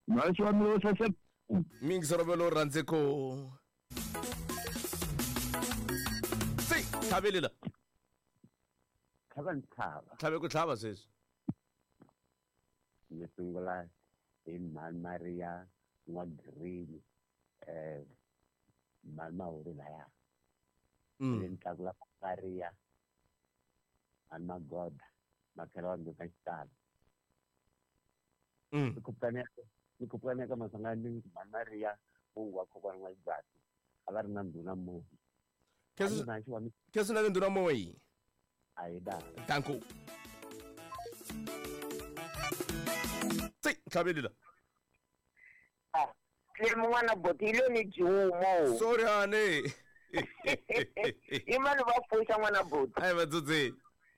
Mhaxi wa mina wo saseka. Mingisero rhandze ko. Si, tlhavelela. Tlhava ni tlhava. Tlhave ku tlhava sweswi. Ni sungula hi mhani Maria N'wa-Green, mhani Mahuri laya. Ni tlakula Maria, mhani Magoda, makhela wa ndzhuka xitalo. Ni khupukane ka Maswanganyi mhani Maria, mungu wa kokwana wa Xibati, a va ri na ndhuna Moyi. Khensa na ndhuna Moyi. A hi da. Danko. Si, tlhavelela. Clem n'wana boti yi lo ni dyiwumo. Sorry honey. I mani va pfuxa n'wana boti? A hi va dzudzeni.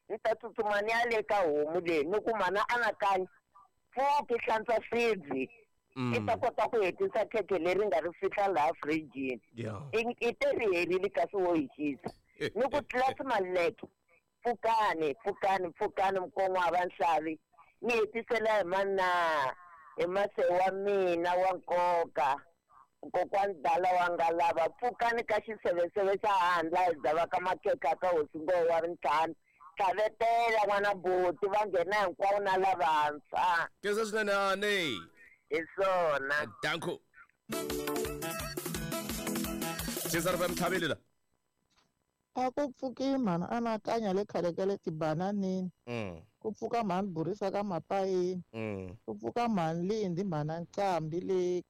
Ni ta tsutsuma ni ya le ka homu leyi ni ku mana anakanya pfuki hlantswa swibyi. I ta kota ku hetisa khekhe leri nga ri fihla laha fridge-ini. I te ri herile kasi wo yi xisa. Ni ku tlasi maleke. Pfukani, pfukani, pfukani mukon'wa va nhlavi. Ni hetisela hi mana hi mase wa mina wa nkoka. Kokwani dala wa nga lava pfukani ka xiseveseve xa handla hi dzava ka makhekhe ka hosi ngoho wa rintlhanu. Tlhavetela n'wana buti va nghena hinkwawo na lavantshwa. Khensa swinene honey. Hi swona. Danko. Cesar va mtlhavelela. A ku pfuki mhani anakanya le khale ka le tibananini. Ku pfuka mhani burisa ka mapayini. Ku pfuka mhani Lindi mhana Nqambi le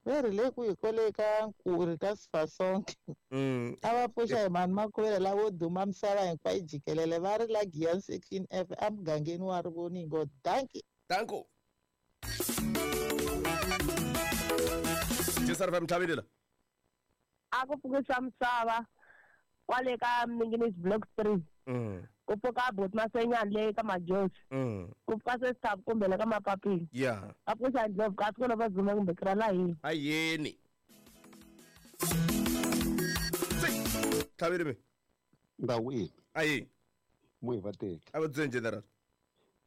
ve ri le kwihi kwale ka Nkuri ka Sifasonke. A va pfuxa hi mhani Makhuvele lavo duma misava hinkwayo jikelele va ri la Giyani section F emugangeni wa Rivoningo. Dankie. Danko. Cesar va mtlhavelela. A ku pfukisa misava kwale ka Minginisi Block 3. Ku pfuka boti Masenyani le ka Majosi. Ku pfuka Sesithabu kumbe le ka Mapapila. A pfuxa Ndlovu kasi ku lava Zuma kumbe Krala yini. A yeni. Tlhaveli mi. Ndawini. Ayi. Mo hi va teka. A va dzeni general.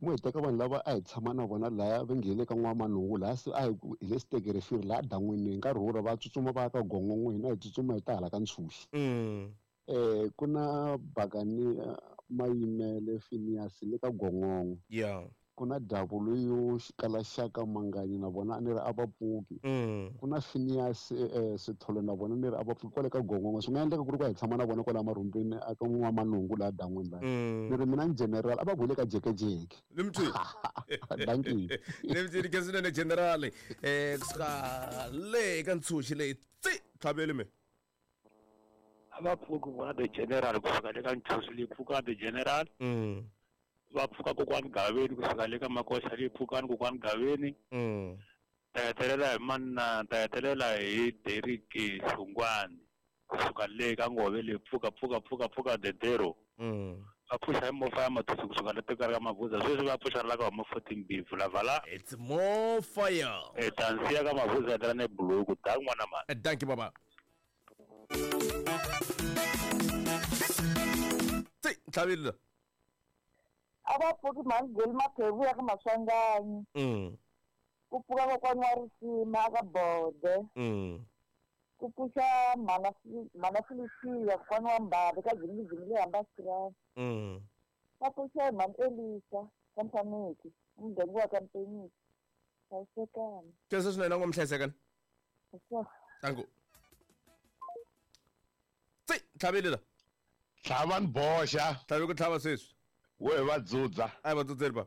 Mo hi teka vanhu lava a hi tshama na vona laya va nghene ka N'wamanhungu laha se a hi ku hi le Sitekerefiri laha dan'wini hi nkarhi wo va tsutsuma va ya ka Gongongo hina hi tsutsuma hi ta hala ka Ntshuxi. Ku na Bakani Mayimele Phineas le ka Gongongo. Ku na W Xikalaxaka Manganyi na vona a ni ri a va pfuki. Ku na Phineas Sithole na vona ni ri a va pfuki kwale ka Gongongo. Swi nga endleka ku ri ku hi tshama na vona kwala marhumbini a ka N'wamanhungu laha dan'wini laha. Ni ri mina ni general a va ku le ka jekejeke. Ni mthini. Thank you. Ni mthini ke swinene general. Kusuka le ka Ntshuxi leyi tsi tlhaveli mi. A va pfuki vona the general kusuka le ka Ntshuxi leyi pfuka the general. Va pfuka kokwani Gaveni kusuka le ka Makoxa leyi pfukani kokwani Gaveni. Ta hetelela hi manna, ta hetelela hi Derrick Hlungwani kusuka le ka Ngove leyi pfuka pfuka pfuka pfuka Dedero. Va pfuxa hi mofa ya Mathusi kusuka le tekari ka Mavuza sweswi va pfuxa la ka huma 14 B vula vala. It's more fire. Tansiya ka Mavuza ya tala ne buluku da n'wana mani. Thank you baba. Si, tlhavelela. A va pfuki mhani Geli Maphephu ya ka Maswanganyi. Ku pfuka kokwani wa Risima ka Bode. Ku pfuxa mhana Felicia kokwani wa Mbali ka Jimmy le Hambastrand. Va pfuxa hi mhani Elisa ka Mfaneki, muganga wa ka Mpenisi. Hlayisekani. Khensa swinene ngo mhlayisekani. Tangu. Tsi, tlhavelela. Tlhava ni boxa. Tlhave ku tlhava sweswi. We va dzudza. A hi va dzudzeli ba.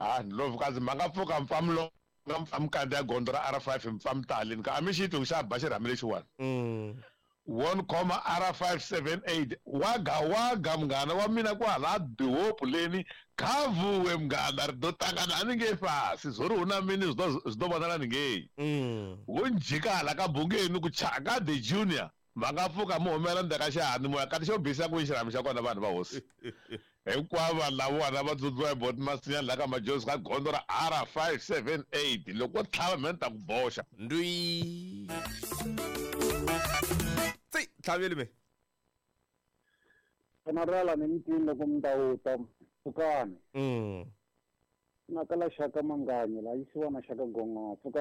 Ah, Ndlovukazi ma nga pfuka mpfamlo nga mpfamkandi ya gondzo ra R5 mpfamtali ka a mi xi twi ku xa ba xirhami lexiwani. 1,R578 waga waga munghana wa mina kwala bihopu leni khavuwe munghana ri do tangana a ni nge fasi zwo ri hu na mini zwi ḓo vhonala ni ngei. Wo njhika hala ka bungeni ku chaka the junior va nga pfuka mu humela ndzhaku ka xihani moya kati xo bisa ku xirhami xa kona vanhu va hosi. Hinkwavo vanhu lavona va dzudziwa hi boti Masinyani laha ka Majozi ka gondzo ra R578 loko wo tlhava mhe ni ta ku boxa. Ndwi. Tsi, tlhaveli me. General ni mitini loko mi ta wuta pfukani. Na kala xaka Manganyi la yisiwa na xaka Gongo pfuka.